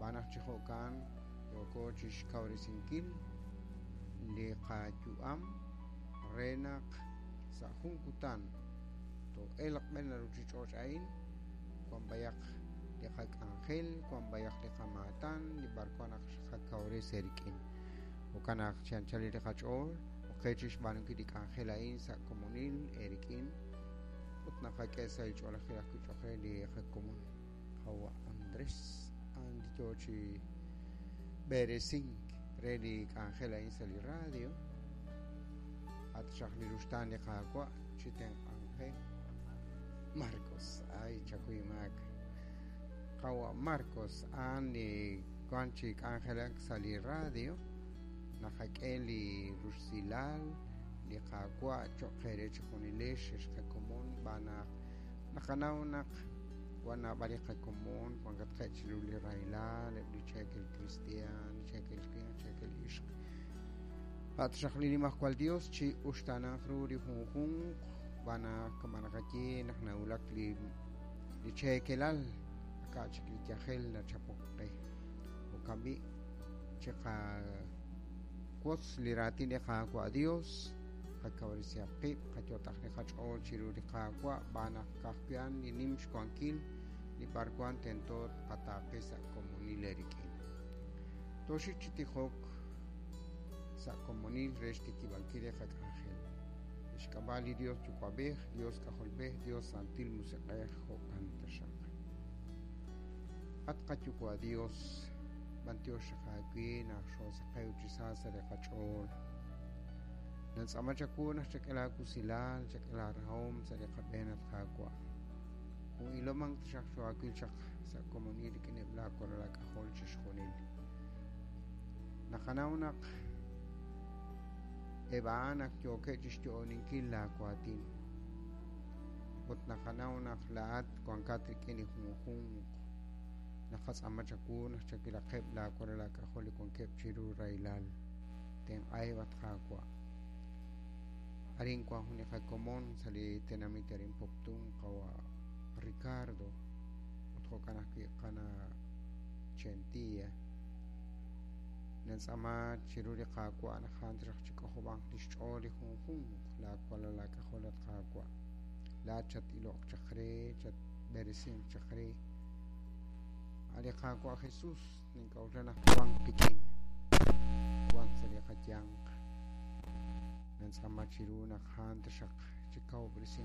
Xb'aan naq chi jo'kan yooko chixkawresinkil li qayu'am re naq sa' jun kutan too'elq b'e la ruchich'och' a'in, wan b'ayaq li qak'anjel, wan b'ayaq li qamaatan, li b'arwan naq xqakawresi eerik'in. Jo'kan naq chi anchal li qach'ool oqe chixb'aanunkil li k'anjel a'in sa' komonil eerik'in ut naqak'e sa' li ch'oolejil ajwi' cho'q re li qakomon qawa' Andrés a'an li yoo chi b'eresink re li k'anjel a'in sa' li radio. A' taxaq li ruxtaan li Qaawa' chi tenq'anq qe. Marcos, ay chakuy maak. Qawa' Marcos a'an li wan chi k'anjelak sa' li radio. Naqak'e li rusilal li Qaawa' cho'q eere chejunilex ex qakomon xb'aan naq naqanaw naq wan naab'al li qakomon wankatqeb' chiru li rahilal, eb' li cheekel kristiaan, li cheekel winq, cheekel ixq. A' taxaq li Nimajwal Yos chi uxtaananq ru li junjunq xb'aan naq kama' naqaye naq nawulak li li cheekelal aka' chik li yajel nachapok qe. Jo'kan b'i' chiqawotz li raatin li Qaawa' Dios, qakawresihaq qib', qayot'aq li qach'ool chiru li Qaawa' xb'aan naq ka'ajwi' a'an li nim xwankil li b'arwan tento tqataaqe sa' komonil eerik'in. Tooxik chi tijok sa' komonil re xtikib'ankil li qak'anjel. Li xk'ab'a' li Dios Yuwa'b'ej, Dios K'ajolb'ej, Dios Santil Musiq'ej, jo'kan taxaq. At qaYuwa' Dios, b'antiox xaq aawe naq xoosaqew chi sa sa' li qach'ool. Nantz'aama chawu naq chak'e laawusilal, chak'e laarahom sa' li qab'een, at Qaawa'. Jun ilomank taxaq xoohaawil chaq sa' komonil rik'ineb' laawalal aak'ajol chixjunil. Naqanaw naq eb' a'an ak yookeb' chi xyo'oninkil laawaatin. Ut naqanaw naq laa'at wankat rik'in li junjunq. Naqatz'aama chawu naq chawilaqeb' laawalal aak'ajol li wankeb' chiru rahilal. Tenq'aheb', at Qaawa'. Arin wank jun li qakomon sa' li tenamit arin Poptún, qawa' Ricardo, ut jo'kan ajwi' qana' Chentilla. Nintz'aama chiru li Qaawa' naq a'an taxaq chik'ojob'anq li xch'ool li junjunq laawalal aak'ajol, at Qaawa'. Laa'at chat-iloq chaq re, chatb'eresinq chaq re. A' li Qaawa' Jesús nink'a'uxla naq wank qik'in, wank sa' li qayanq. Nintz'aama chiru naq a'an taxaq chikawob'resinq.